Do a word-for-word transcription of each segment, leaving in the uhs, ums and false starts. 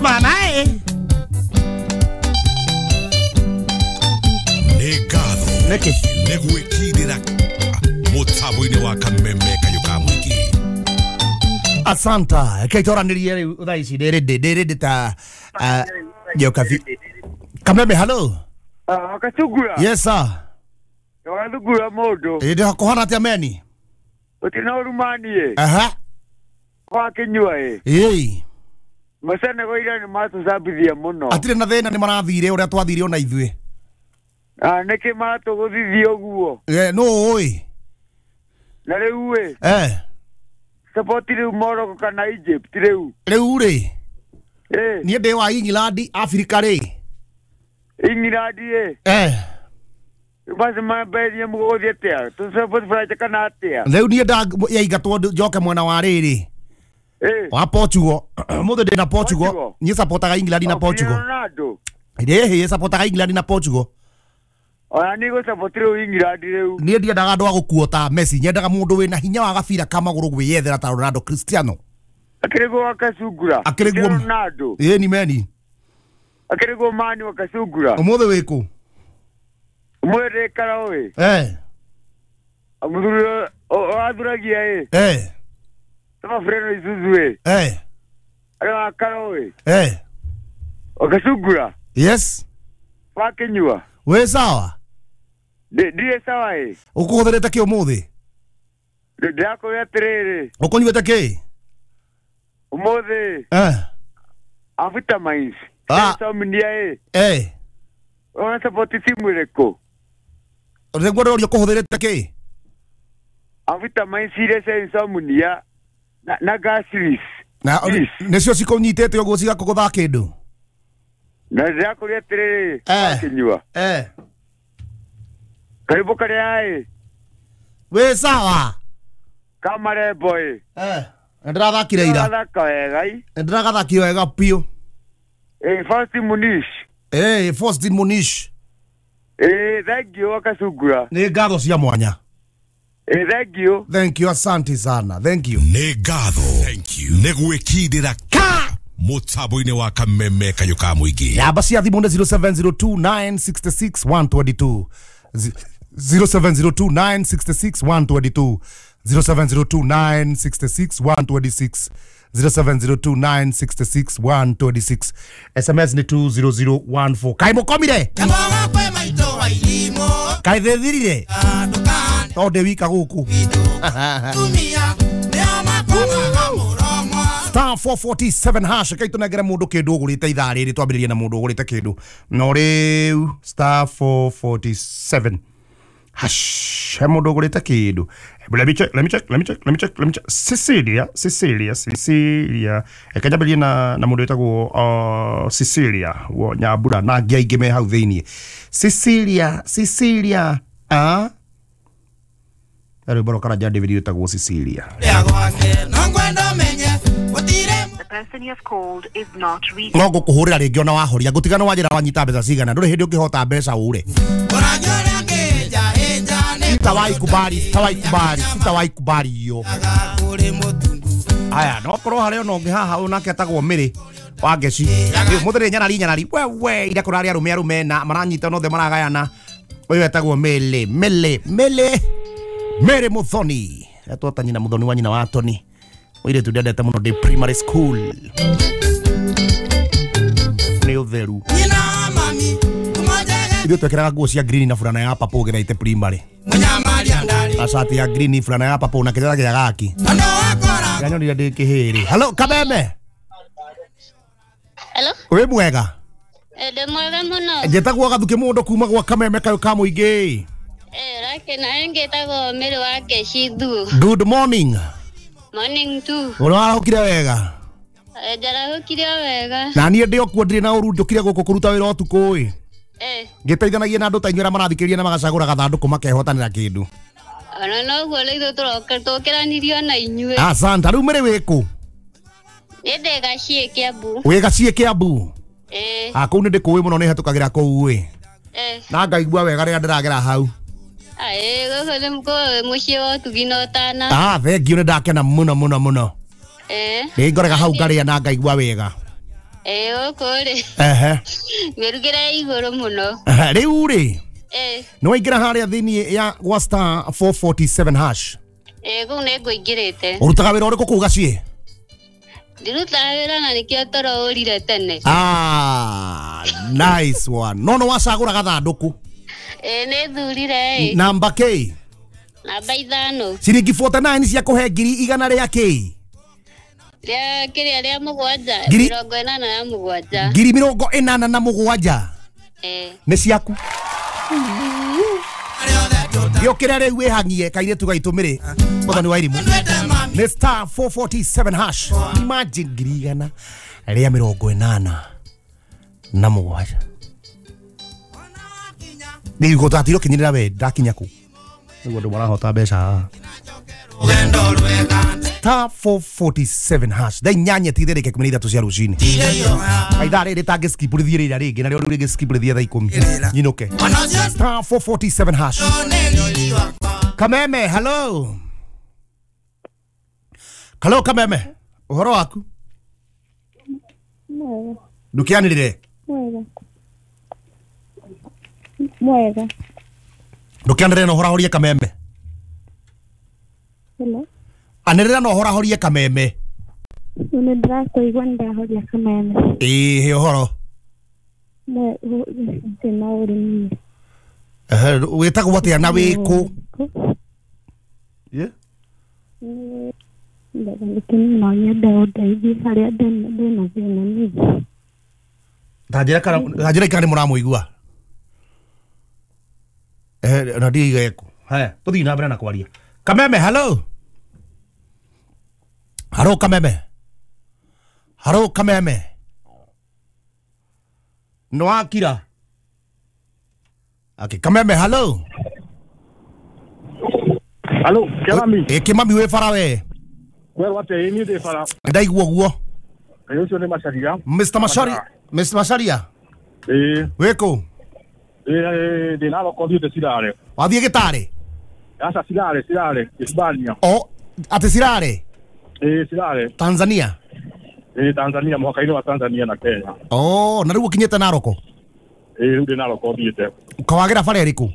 Mama ĩ. Nĩ ngatho Nĩkĩ? Nĩ gwĩkindĩra mũtambo-inĩ wa Kameme Kayũ ka Mũingĩ. Asanta. Reke twaranĩrie rĩu thaa ici ndĩ ready, ndĩ ready ta uh, Njokabi. Kameme, hello. Wakacugura. Yes sir. Wagathugura mũndũ. Ĩ ndĩ kũhana atĩa meni? Ũtina ũrumanie. Aha. Wakinyua ĩ. Ĩĩ. Macenego ira nĩ matũcambithia mũno. Atirĩ na thĩna, nĩ marathire ũrĩa twathire ona ithuĩ. Ah, nĩkĩ maratũgũthithia ũguo? Eh, nũ ũĩ? Na rĩu ĩ, Eh, support rĩu Morocco kana Egypt rĩu? Rĩu rĩ, Ĩ, niĩ ndĩ wa England, Africa rĩ. England ĩ. Eh, Basi mambĩrĩrie mũgũthiĩ atĩa? Tũ support France kana atĩa? Rĩu niĩ nda yaingatwo njoke mwena wa rĩrĩ. Ĩ. Wa Portugal. Mũthĩ ndĩ na Portugal. Portugal? Niĩ supportaga England na O, Portugal. Ronaldo. Ĩhĩ, supportaga England na Portugal. Ona niĩ gũ support rĩu England rĩu. Niĩ ndiendaga andũ a gũkuo ta Messi, nyendaga mũndũ wĩna hinya wa gabira ka magũrũ gwĩyethera ta Ronaldo, Cristiano. Akĩrĩ guo wakacungura. Akĩrĩ guo- Ronaldo. Ĩĩ ni meni. Akĩrĩ guo mani wakacungura. Ũmũthĩ wĩkũ? Mwĩrĩ karaũ ĩ. Eh, Mũthuri wathuragia ĩ. eh, Tama Freno Isuzu ĩ. eh, Arĩa wa karaũ ĩ. eh. Wakacungura. Yes. Wakinyua. Wĩ sawa? Ndĩ- Ndirĩ sawa ĩ. Ũkũhũthĩrĩte kĩ ũmũthĩ? Ndĩ- Ndĩrakũria atĩrĩrĩ. Ũkũnyuĩte kĩ? Ũmũthĩ Eh, avitamins. Ah. Insomnia ĩ. eh. Ũra support timu ĩrĩkũ? Nĩguo ndĩroria ũkũhũthĩrĩte kĩ? Avitamins iria cia insomnia na, na gastritis. Na Yes. nĩcio cikũnyitĩte ũguo cigakũgũtha kĩndũ? Na ndĩrakũria atĩrĩrĩ. Eh. Wakinyua. Eh. Karibu karĩa ĩ. Wĩ sawa? Kamarembo ĩ. Eh. Nĩ ndĩrathakire ira. Gathaka wega ĩ. Nĩ ndĩragathakire wega biũ. Ĩ Faustin Munish. Eh, Faustin Munish. Ĩ thank you wakacungura. Nĩ ngatho cia mwanya. Ĩ thank you. Thank you, asante sana. Thank you. Nĩ ngatho nĩ gwĩkindĩra Ka! mũtambo-inĩ wa Kameme Kayũ ka Mũingĩ. Namba cia thimũ nĩ zero seven zero two nine six six one two two, zero seven zero two nine six six one two two, zero seven zero two nine six six one two six, zero seven zero two nine six six one two six. S M S nĩ two zero zero one four. Kaĩ mũkomire? Kaĩ thĩthirire? Tondũ ndĩ wika gũkũ. Star four four seven hash, kai tũnengere mũndũ kĩndũ ũgũrĩte ithaa rĩrĩ. Twambĩrĩrie na mũndũ ũgũrĩte kĩndũ no rĩu. Star four four seven hash, he mũndũ ũgũrĩte kĩndũ. Let me check, let me check, let me check, let me check, let me check. Cecilia, Cecilia, Cecilia. Reke njambĩrĩrie na na mũndũ wĩtagwo uh, Cecilia wo Nyambura na angĩ aingĩ me hau thĩiniĩ. Cecilia, Cecilia, ah, rwĩmbo rwa Karanja David wĩtagwo Cecilia. The person you have called is not reachable. No ngũkũhũrĩra rĩngĩ ona wahoria ngũtiga. Nĩ wanjĩra wanyita mbeca cigana, ndũrĩ hĩndĩ ũngĩhota mbeca ũre. Sitawahi kubali, sitawahi kubali, sitawahi kubali hiyo. Aya, no korwo harĩ ona ũngĩ haha, ũyũ nake etagwo Mĩrĩ wa Ngeci. Mũthĩ nĩ nyarari nyarari wewe, ira kũrarĩ arũme arũme na maranyita othe maragayana. Ũyũ etagwo Mĩlĩ, Mĩlĩ, Mĩlĩ, Mĩrĩ Mũthoni, etwo ta nyina Mũthoni wa nyina wa Toni, mũirĩtu ndendete mũno ndĩ primary school nĩ ũtheru. Ithuĩ twekĩraga nguo cia green na burana ya purple gĩthaite primary, na cati ya green, burana ya purple na kĩrĩa gĩa gaki kĩranyonire ndĩ kĩhĩrĩ. Hello, Kameme. Hello? Wĩ mwega? Eh, ndĩ mwega mũno. Njĩtagwo Gathuki mũndũ kuma gwa Kameme Kayũ ka Mũingĩ. Eh, rakena ngĩtagwo Mĩrĩ wa Ngeci Thuo. Good morning. Morning too. Ũrarahũkire wega? Eh, njarahũkire o wega. Na niĩ ndĩ o kuo, ndirĩ na ũru, njũkire gũkũ kũruta wĩra ũtukũ ĩ, Eh, ngĩteithanagia na andũ ta inyuĩ arĩa marathikĩrĩria na magacagũra gathandũkũ makehotanĩra kĩndũ. Ona noguo rĩu ithuĩ tũroka tũkĩranirio na inyuĩ. Asante. Rĩu Mĩrĩ, wĩkũ? Niĩ ndĩ Gaciĩ, Kĩambu. Wĩ Gaciĩ, Kĩambu? Eh, Ah, kũu nĩ ndĩkũĩ mũno, nĩ hetũkagĩra kũu ĩ, eh. na ngaigua wega rĩrĩa ndĩragera hau. Aĩ, gũkũ nĩ kũ mũciĩ wa ũtugi na ũtana. Ah, thank you, nĩ ndakena mũno mũno mũno. Ĩĩ. Nĩ ngorega hau ngarĩa na ngaigua wega. Ĩĩ gũkũ rĩ. Ehe. Mĩrugĩre ya igũrũ mũno. Ehe, rĩu rĩ. Ĩĩ. Nĩ waingĩra harĩa thĩinĩ ya gwa star four forty-seven hash. Ĩĩ kũu nĩ ngũingĩrĩte. Ũrutaga wĩra ũrĩkũ kũu gaciĩ? Ndirutaga wĩra na nĩkĩo toro ũrire tene. Ah, nice one. No no wacagũra gathandũkũ. Ĩĩ nĩ thurire ĩ. Namba K. Namba ithano. Ciringi forty-nine cia kũhe ngiri igana rĩa K. Rĩa kĩrĩa rĩa mũgwanja. Ngiri mĩrongo ĩnana na mũgwanja. Ngiri mĩrongo ĩnana na mũgwanja. Ĩĩ. Nĩ ciaku. Gĩũkĩre rĩu wĩhang'ie kairĩtu gaitũ mĩrĩ. Mũthoni wa irimũ. Nĩ star four forty-seven hash. Imagine ngiri igana rĩa mĩrongo ĩnana na mũgwanja. Nĩ gũtatiro kinyĩrĩra we ndakinya kũ. Nĩguo andũ marahota mbeca. Star four forty-seven hash. Thaa inyanya tithereke ikũmi na ithatũ cia rũcinĩ. Ithaa rĩrĩ tangĩ skip rĩthiĩ rĩrĩa rĩngĩ na rĩo rĩu rĩngĩ skip rĩthiĩ thaa ikũmi. Nyinũke. Star four forty-seven hash. Kameme, hello. Hello Kameme. Ũhoro waku? Mwega. Ndũkĩanĩrĩre? Mwega. Mwega. Ndũkĩanĩrĩre na ũhorahorie Kameme. Hello. Anĩrĩra na ũhorahorie Kameme. Nĩ ndĩrakũigua nĩ ndahoria Kameme. Ĩĩ ũhoro. Thĩna ũrĩ niĩ. Ehe, wĩtagwo atĩa na wĩ kũ? Ye? No nyende ũndeithie harĩa ndĩna thĩna niĩ. Ta njĩra kana ta njĩra kana nĩ mũramũigua. Eh, na ndiiga eko. Haya, tũthiĩ na mbere na kwaria. Kameme, hello. Hello Kameme. Hello Kameme. No akira. Okay, Kameme, hello. Hello, Kimami. Eh, Kimami wĩ bara we. Kwerwo atĩa? Ĩ niĩ ndĩ bara. Ndaigua ũguo. Ĩ ũcio nĩ Macharia. Mister Macharia, Mister Macharia. Ĩ. Wĩ kũ? Ĩ ndĩ Narok thiĩte Cirare. Wathiĩ Gĩtarĩ? Aca Cirare, Cirare, Hispania. O, atĩ Cirare? Ĩ Cirare. Tanzania? Ĩ Tanzania, mũhaka-inĩ wa Tanzania na Kenya. Oh, na rĩu ũkinyĩte Narok? Ĩ rĩu ndĩ Narok thiĩte. Kawagĩra bara ĩrĩkũ?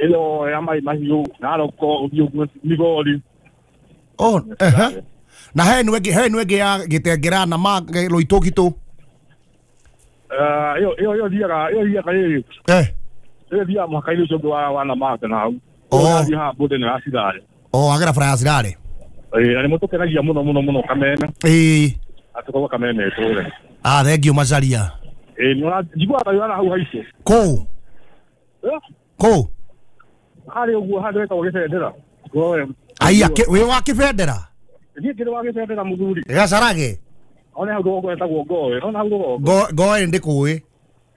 Ĩyo ya Mai Mahiũ, Narok ũthiĩ ũguo Migori. Oh, ehe. Na he nĩ ĩngĩ, he nĩ ĩngĩ ya Gĩtengera na ma Loitokito. Eh, ĩyo ĩyo ĩyo thiaga, ĩyo thiaga rĩrĩ. Eh. Ĩyo thiaga mũhaka-inĩ ũcio ũngĩ wa wa Namanga na hau. Oh. Ũrathiĩ haha border ya Cirare. Oh, agera bara ya Cirare. Ĩ, na nĩ mũtũkenagia mũno mũno mũno Kameme. Ĩ. Atũkorwo Kameme ĩtũre. Ah, thank you Macharia. Ĩ, nĩ ũra njiguaga wĩra hau haico. Kũ? Eh? Kũ? Harĩa ũguo handũ hetagwo Gĩbendera. Goe. Aya, wĩ wa Kĩbendera? Niĩ ngĩrĩ wa Gĩbendera mũthuri. Gacarage. One hau rũgongo hetagwo Ngoe. Ona hau rũgongo. Ngo Ngoe ndĩkũĩ.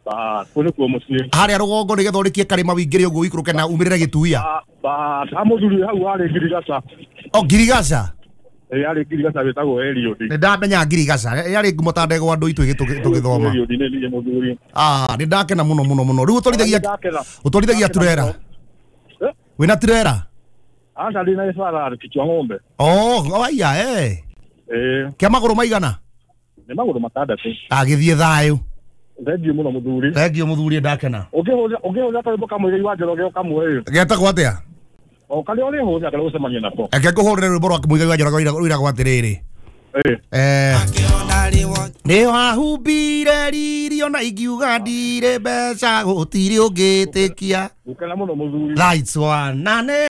Ba, kũu nĩkuo mũciĩ. Harĩa rũgongo nĩgetha ũrĩkie karĩma wĩingĩre ũguo ũikũrũke na umĩrĩre Gĩtuia. Ba, ha mũthuri hau harĩ Ngirigaca. O Ngirigaca? Ĩ harĩ Ngirigaca wĩtagwo Eliud. Nĩ ndamenya Ngirigaca. Yarĩ ngumo ta ndegwa andũ itũ tũgĩthoma. Eliud nĩ niĩ mũthuri. Ah, nĩ ndakena mũno mũno mũno. Rĩu ũtwarithagia ũtwarithagia turera. Wĩna turera? Aca ndĩ na gĩbara kichwa ng'ombe. Oh, aya eh. Ĩ. Kĩa magũrũ maigana? Nĩ magũrũ matandatũ. Agĩthiĩ thayũ. Thengiũ mũno mũthuri. Thengiũ mũthuri ndakena. Ũngĩhũthĩra ũngĩhũthĩra karwĩmbo ka Mũigai wa Njoroge ũkamũhe. Getagwo atĩa? O karĩa ũrĩhũthĩra karĩa ũgũcemania nako. Reke ngũhũrĩre rwĩmbo rwa Mũigai wa Njoroge rũiragwo atĩrĩrĩ. Ĩ. Eh. Nĩ wahumbire riri ona ingiuga ndirĩ mbeca gũtirĩ ũngĩtĩkia. Gũkena mũno mũthuri. Lights one na nĩ